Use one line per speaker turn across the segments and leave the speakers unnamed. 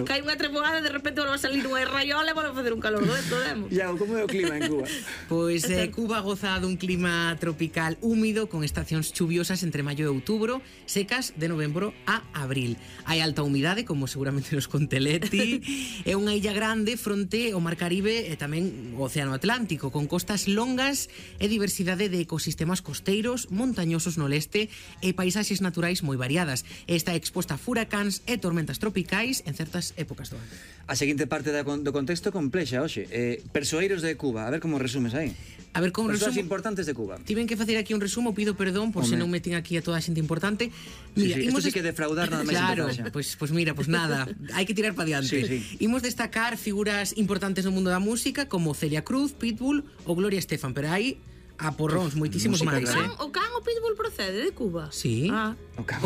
Cae unha treboada e de repente volve a salir unha raiola e volve a facer un calor demo.
Iago, como é o clima en Cuba?
Pois Cuba goza dun clima tropical húmido con estacións chuviosas entre maio e outubro, secas de novembro a abril. Hai alta humidade, como seguramente nos conte Leti. É unha illa grande fronte ao Mar Caribe e tamén o Océano Atlántico, con costas longas e diversidade de ecosistemas costeiros, montañosos no leste e paisaxes naturais moi variadas. Está exposta a furacáns e tormentas tropicais en certas épocas do ano.
A seguinte parte do contexto complexa, hoxe. Persoeiros de Cuba, a ver como resumes aí.
A ver como
persoas
resumo
importantes de Cuba.
Tiven que facer aquí un resumo, pido perdón por se non meten aquí a toda a xente importante.
Mira, isto sí que defraudar nada máis.
Claro, pues mira, pues nada, hai que tirar para diante. Imos destacar figuras importantes no mundo da música como Celia Cruz, Pitbull ou Gloria Estefan, pero hai a porróns, moitísimos máis,
O can o Pitbull procede de Cuba?
Sí.
O can.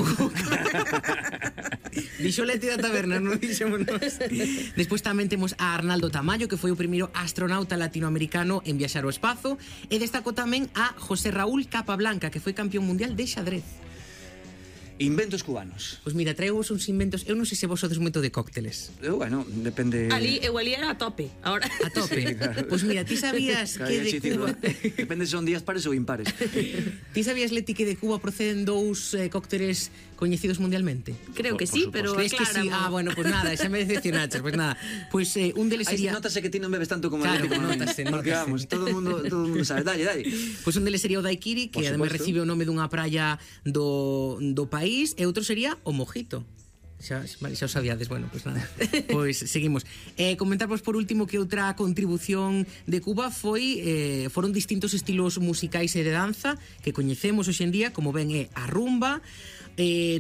Dixo Leti da Taberna, non dixemos nós. Despois tamén temos a Arnaldo Tamayo, que foi o primeiro astronauta latinoamericano en viaxar ao espazo, e destacou tamén a José Raúl Capablanca, que foi campeón mundial de xadrez.
Inventos cubanos.
Pois mira, traemos uns inventos. Eu non sei se vos sodes moito de cócteles.
Bueno, depende.
Eu ali era a tope. Ahora.
A tope. Sí, claro. Pois mira, ti sabías que de Cuba...
Depende se son días pares ou impares.
Ti sabías, Leti, que de Cuba proceden dous cócteles coñecidos mundialmente?
Creo que sí, pero
es que sí. Bueno, pues nada, xa me decepcionaches. Pues nada, pues un deles sería...
Notase que ti non bebes tanto como
Leti.
Claro,
notase.
Porque vamos, todo o mundo sabe. Dalle.
Pois un deles sería o daiquiri, que ademais recibe o nome dunha praia do país, e outro sería o mojito. Xa o sabíades, bueno, pois nada. Pois seguimos. Comentarvos por último que outra contribución de Cuba foron distintos estilos musicais e de danza que coñecemos hoxe en día, como ben é a rumba,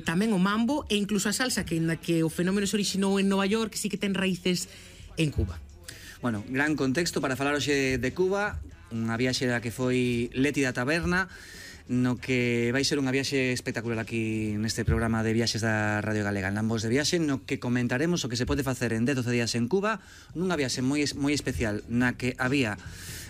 tamén o mambo e incluso a salsa, que o fenómeno se orixinou en Nova York, que sí que ten raíces en Cuba.
Bueno, gran contexto para falar hoxe de Cuba, unha viaxe da que foi Leti da Taberna, no que vai ser unha viaxe espectacular aquí neste programa de viaxes da Radio Galega, en Lambos de Viaxe, no que comentaremos o que se pode facer en 10-12 días en Cuba, nunha viaxe moi especial na que había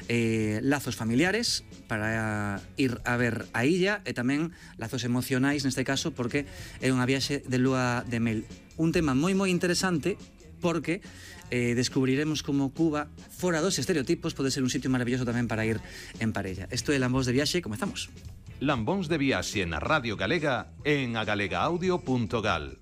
lazos familiares para ir a ver a illa e tamén lazos emocionais neste caso, porque é unha viaxe de lúa de mel, un tema moi interesante porque descubriremos como Cuba, fora dos estereotipos, pode ser un sitio maravilloso tamén para ir en parella. Isto é Lambos de Viaxe, comezamos.
Lambóns de Viaxe na Radio Galega en agalegaudio.gal.